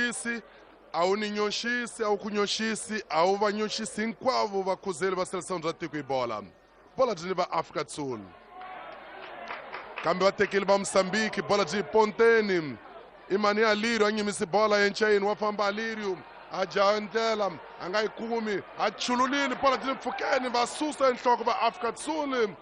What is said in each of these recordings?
nyoxisi, a wu ni nyoxisi, a wu ku nyoxisi, a wu va nyoxisi hinkwavo vakhuzeli va seleção bya tiko hi bola. Bola byi ni va Afrika Sul. Kambe va tekile va Mozambique, bola byi ponteni. Imani Alirio a nyimisi bola encayini, wa famba Alirio a jaha ndlela a nga yi kumi, a chululile bola byi mpfhukeni, va susa enhloko va Afrika Sul.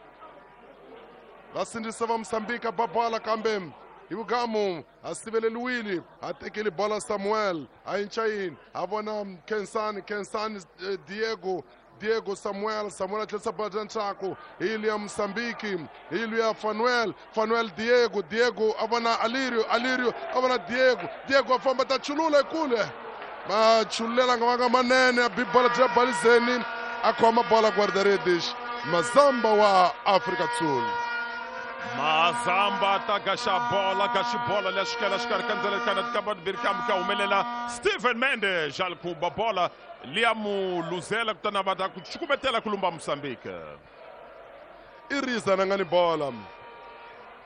Va sindzisa va Mozambique ba bola kambe hi vugamu a siveleliwile, a tekile bola Samuel a encayini, a vona Khensani, Khensani Diego, Diego Samuel, Samuel a tlherisa bola bya ntshaku hi liya Mozambique, hi liya Fanuel, Fanuel Diego, Diego a vona Alirio, Alirio a vona Diego, Diego a famba ta chulula ekule, ma chululela nga vanga manene, a bi bola bya balizeni, a khoma bola guarda-redes Mazamba wa Afrika Sul. Mazamba ta gaxa bola, gaxi bola leya xikela xikarhi ka ndlela kana tikamba timbirhi kambe ka humelela Steven Mendes a khumba bola liya mu luzela kutani va ta ku cukumetela ku lumba Mozambique. I Rizan a nga ni bola,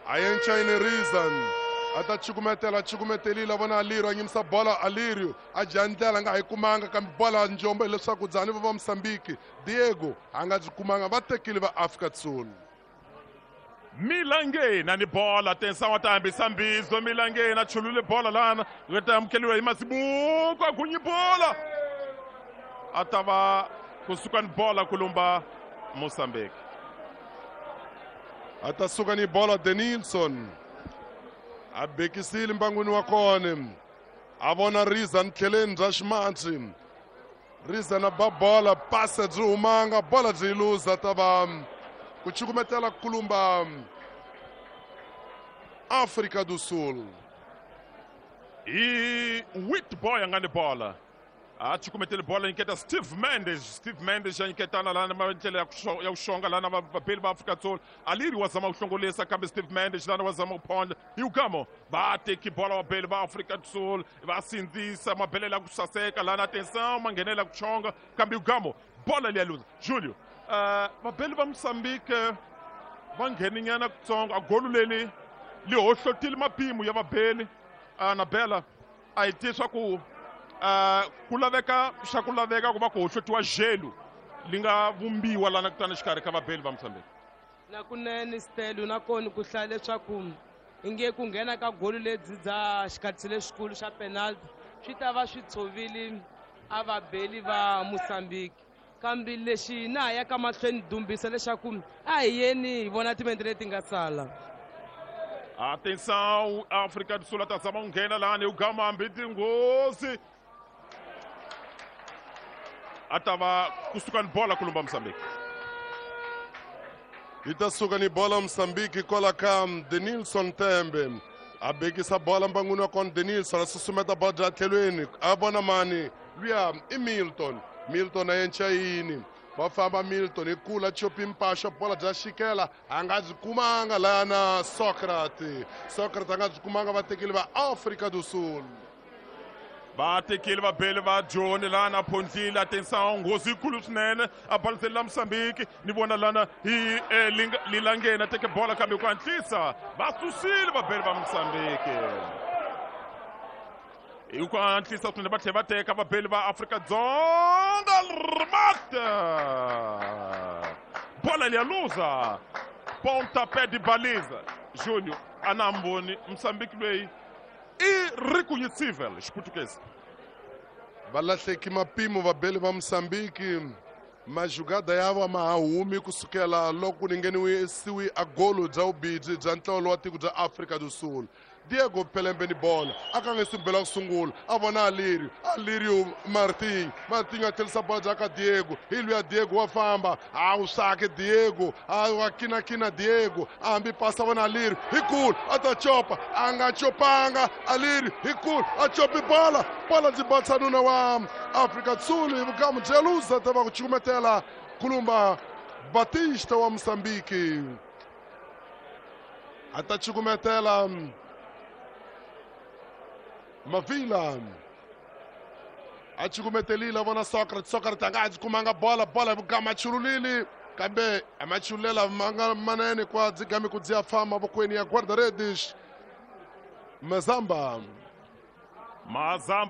a yencayini Rizan a ta cukumetela, cukumetelile, a vona Alirio a nyimisa bola, Alirio a dya ndlela a nga ha yi kumanga, kambe bola njombo hileswaku dzani va va Mozambique. Diego a nga byi kumanga, va tekile va Afrika Sul. Milangeni ni bola tensa wa ta hambisa mbizo, Milangeni a chulule bola lana yi ta amukeliwa hi Masibuko, a gunyi bola a ta va kusuka ni bola ku lumba Mozambique. A ta suka ni bola Denilson a bekisile mbangwini wa kona, a vona Rizan tlheleni bya ximatsi, Rizan a ba bola, pase byi humanga, bola byi luza, ta va ku cukumetela kulumba Afrika do Sul. Hi Witboy a nga ni bola, a cukumetele bola nyiketa Steve Mendes, Steve Mendes a nyiketana lana ndlela ya ku xonga lana vabeli va Afrika Sul. Aliri wa zama ku hlongolisa kambe Steve Mendes lana wa zama ku phondla. Yugamo va teki bola vabeli va Afrika Sul, va sindzisa mabelela ya ku saseka lana, atenção ma nghenela ku chonga kambe Yugamo bola liya luza. Julio, vabeli va Mozambique va ngheninyana kutsongo, a golu leli li hohlotile mapimo ya vabeli. Na bela a hi tivi swa ku ku laveka xa ku laveka ku va ku hohlotiwa jelu li nga vumbiwa lana kutani xikarhi ka vabeli va Mozambique. Na kunene Stelo na kona ku hlaya leswaku inge ku nghena ka golu lebyi bya xikhatsi lexikulu xa penalty swi ta va swi tshovile a vabeli va Mozambique, kambe lexi na ha ya ka mahlweni dumbisa leswaku a hi yeni hi vona timente leti nga sala. Atenção, África do Sul ta zama ku nghena lani, u gama hambi tinghozi a ta va kusuka ni bola ku lumba Mozambique. Yi ta suka ni bola Mozambique kwala ka Denilson Tembe, a bekisa bola mbangwini wa kona, Denilson a susumeta bola bya tlhelweni, a vona mani luya i Milton, Milton a yencayini, va famba Milton hi kula chopi mpaxo, bola bya xikela a nga byi kumanga lana Socrates, Socrates a nga byi kumanga, va tekile va Afrika do Sul. Va tekile vabeli va Joni lana phondlile, atenção nghozi yikulu swinene a baliseli la Mozambique. Ni vona lana hi Lilangeni a teke bola kambe ku hatlisa va susile vabeli va Mozambique hi ku hatlisa swinene, va tlhela va teka vabeli va Afrika Dzonga. Remata bola liya luza, pontapé de baliza. Júnior a na mboni Mozambique loyi i reconhecível xiputukezi. Va lahleki mapimo vabeli va Mozambique, majugada ya va ma ha humi kusukela loko ku ngheniwisiwi a golo bya vubidzi bya ntlolo wa tiko bya Afrika do Sul. Diego Pelembe ni bola a ka nge simbela ku sungula, a vona Alirio, Alirio Martin, Martin a tlherisa bola bya ka Diego, hi luya Diego wa famba, a wu sake Diego, a wa kinakina Diego, a hambi pasa vona Alirio hi kulu a ta copa, a nga copanga Alirio hi kulu a copi bola, bola byi batsa nuna wa Afrika Sul hi vugamu bya luza, ta va ku cukumetela kulumba Batista wa Mozambique a ta cukumetela Mavila a cukumetelile, a vona Socrates, Socrates a nga ha byi kumanga bola, bola hi vugama chululile kambe a ma chululela ma nga manene kwa byi game ku dziya fa mavokweni ya guarda-redes Mazamba. Mazamba.